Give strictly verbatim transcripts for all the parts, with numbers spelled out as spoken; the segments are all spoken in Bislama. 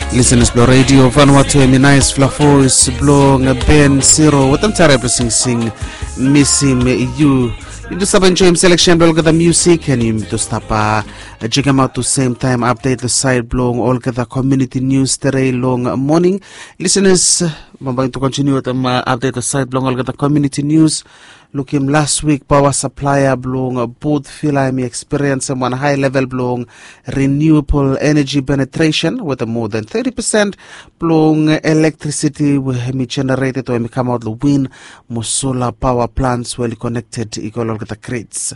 Listeners blong Radio Vanuatu, hemi naisfala voes blong Ben Siro wetem tare blong singsing Misim Yu. Yu tu save enjoem selection blong olgeta musik, and yu tu stap jekemaot tu sem taem update long saed blong olgeta community news tere long moning. Listeners, bambae yu tu kontiniu wetem update long saed blong olgeta community news. Lukim las wik paoa saplaea blong Port Vila hemi ekspiriensem wan hae level blong renewable energy penetration wetem moa than thirty percent blong elektrisiti we hemi generated o hemi kamaot long win mo sola paoa plants we oli connected i go long olgeta grids.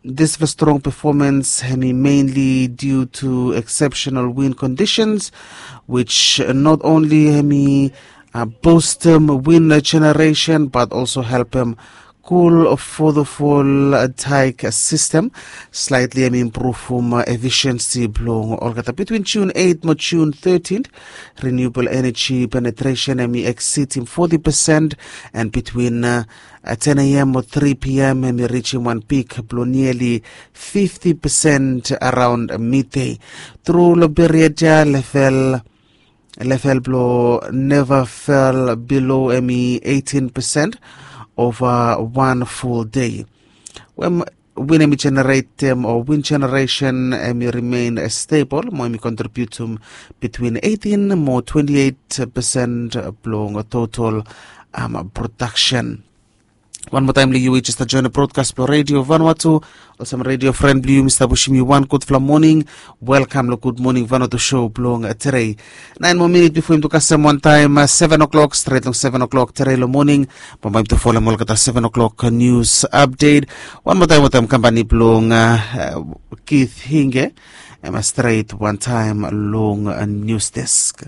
This was strong performance hemi mainly due to exceptional wind conditions, which not only hemi uh, boostem wind generation but also helpem cool affordable uh, tike system. Slightly hemi improve um, uh, efficiency blong olgeta between June eight mo June thirteen. Renewable energy penetration hemi exceed him forty percent, and between uh, uh, ten a.m. mo three p.m. hemi reach him wan peak blong nearly fifty percent around midday. Through long period ya level level blong never fell below hemi eighteen percent over one full day. When wind hemi generatem o wind generation hemi remain stable mo hemi contributum between eighteen mo twenty-eight percent blong total um, production. Wan moa taem long yu we jes stap joen long broadcast blong Radio Vanuatu, olsem radio fren blong yu mi stap wisim yu wan gudfala moning. Welkam long Gud Moning Vanuatu show blong tere. Naen moa minit bifo yumi tu kasem wan taem seven o'clock, stret long seven o'clock tere long moning. Bambae yumi tu folem olgeta seven o'clock news update. Wan moa taem wetem kampani blong Keith Hinge. Em stret wan taem long news desk.